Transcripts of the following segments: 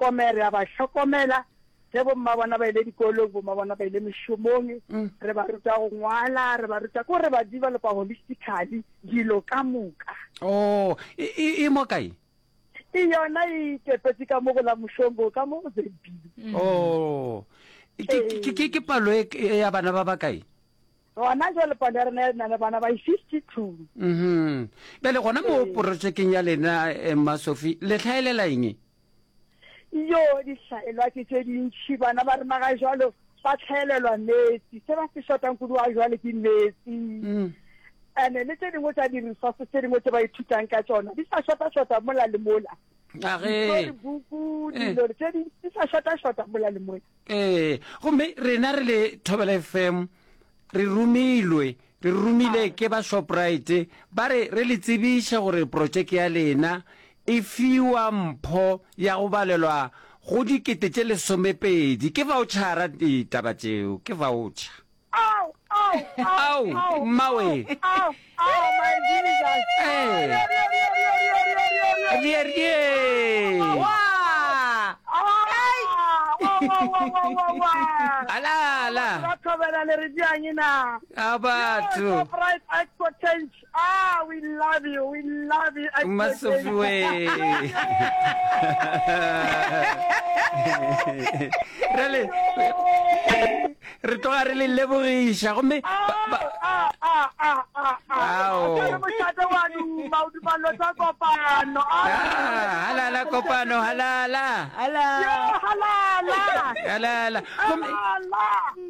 hlokomela, re a ba hlokomela ge bomma bona ba ile dikolong, bomma bona ba ile mešomong, re ba ruta go ngwala, re ba ruta, ko re ba developa holistically dilo ka moka. Oh, e, e, e mo kae? E yona e ikepetše ka mo go la Mošongo, ka mo go ZB. Oh, ke, ke, ke, ke palo e, ya bana ba bakae? Gona jwale palo ya rena e na le bana ba 52. Mhm. Bjale gona mo porojekeng ya lena eh, Mma Sophie, le hlaelela eng? Yo, dihlaelwa ke tše dintši. Bana ba rena ga jwalo ba hlaelelwa meetse. Se ba se shotang kudu ga jwale ke meetse. Mm. Ene le tše dingwe tša di-resources tše dingwe tše ba ithutang ka tšona di sa shota-shota mola le mola. A ge. Dibuku, Eh. dilo tše di di sa shota-shota mola le mola. Ee, gomme rena re le Thobela FM re romilwe, re romile ke ba Shoprite, ba re re le tsebiše gore protšeke ya lena e fiwa mpho ya go balelwa go 20,000. Ke vaotšhara ditaba tšeo, ke vaotšha. Ao, ao, ao, ao, mmawe. Ao, ao, my Jesus. Ee. Rie, rie. Wa! Ala, ala. Ba thobela le re diang na. A batho. Shoprite Expo Change. Ah, we love you. We love you. Expo Mmasofi we. Re le re tloga re le lebogiša gomme ba- ba- Ao. Mošate wa duma o duma lo tsa kopano. Ah, halala kopano halala Ala. Yo halala. halala gomme Halala.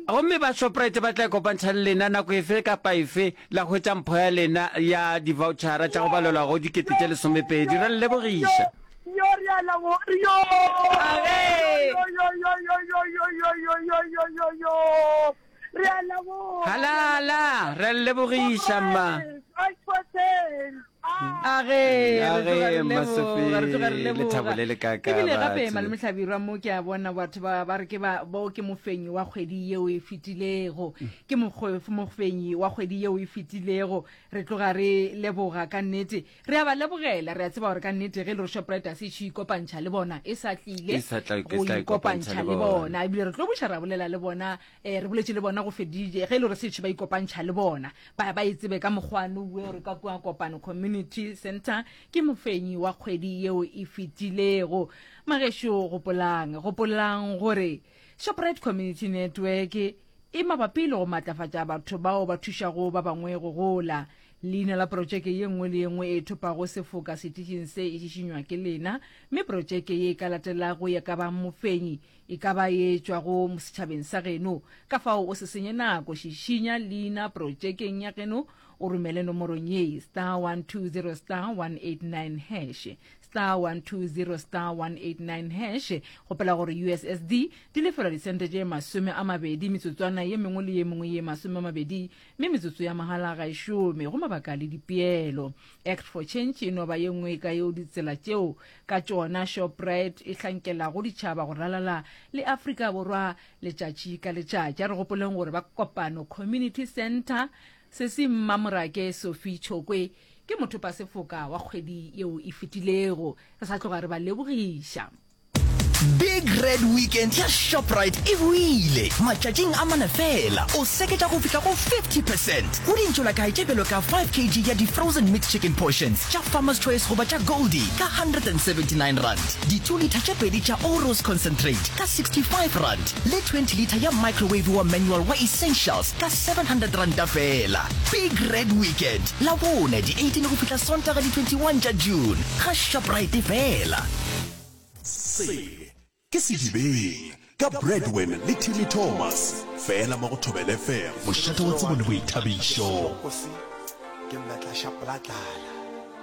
gomme ba Shoprite ba tla ikopantšha le lena nako efe kapa efe La hwetša mpho ya lena ya divautšhara tša go balelwa go 20,000. Re le lebogiša. Yo re a lebo yo. Age. Yo yo yo yo yo yo yo yo yo yo yo yo. Re a leboga. Halala, re a le lebogiša mma. A ge, re tloga re Age, Mma leboga, Sophie, re tloga re leboga. lethabo le le kaaka Ebile gape batho. Malome Hlabirwa mo ke a bona batho ba ba re ke ba bo ke mofenyi wa kgwedi yeo e fetilego. Ke mokgwe- mofenyi wa kgwedi yeo e fetilego. Re tloga re leboga ka nnete. Re a ba lebogela, re a tseba gore ka nnete ge e le gore Shoprite a se ešo ikopantšha le bona, e sa tlile E sa tla- e go tla ikopantšha ikopantšha le le bona. bona. Ebile re tlo buša ra bolela le bona, eh, re boletše le bona go fedile ge e le gore setšhe ba ikopantšha le bona. Ba ba e tsebe ka mokgwa nowe gore ka kua Kopano Community Centre ke mofenyi wa kgwedi yeo e fetilego. Magešo gopolang, gopolang gore Shoprite Community Network e mabapi le go matlafatša batho bao ba thušago ba bangwe go gola. Leina la protšeke ye nngwe le ye nngwe e thopago sefoka setišing se e šišinywa ke lena, mme protšeke ye e ka latelago ya ka ba mofenyi E ka ba ye tšwago setšhabeng sa geno. Ka fao o se senye nako, šišinya leina protšekeng ya geno o romele nomorong ye, star 120 star 189 hash, star 120 star 189 hash. Gopola gore USSD di lefelwa disente tše 20 metsotswana ye mengwe le ye mengwe ye 20 mme metsotso ya mahala ga e šome go mabaka le dipeelo. Act for Change e no ba ye nngwe ka yeo ditsela tšeo ka tšona Shoprite e hlankelago ditšhaba go ralala le Afrika Borwa letšatši ka letšatši. A re gopoleng gore ba Kopano Community Centre, Sesi Mmamorake Sophie Chokwe ke mothopasefoka wa kgwedi yeo e fetilego. Re sa tloga re ba lebogiša. Big Red Weekend ya Shoprite e boile! Matšatšing a mane feela, o seketša go fihla go 50 percent go dintšolakae tše bjalo ka 5 kg ya di-frozen mixed chicken portions tša Farmer's Choice goba tša Goldie ka R179, di-two litre tše pedi tša Oros concentrate ka R65 le 20 litre ya microwave wa manual wa Essentials ka R700 feela. Big Red Weekend, Labone di 18 go fihla Sontaga di 21 tša June, ga Shoprite feela. Se ke Sedibeng ka Bradwin le Timmy Thomas, fela mo go Thobela FM, mošate wa tsebo le boithabišo. Ke mmetla šapola tlala.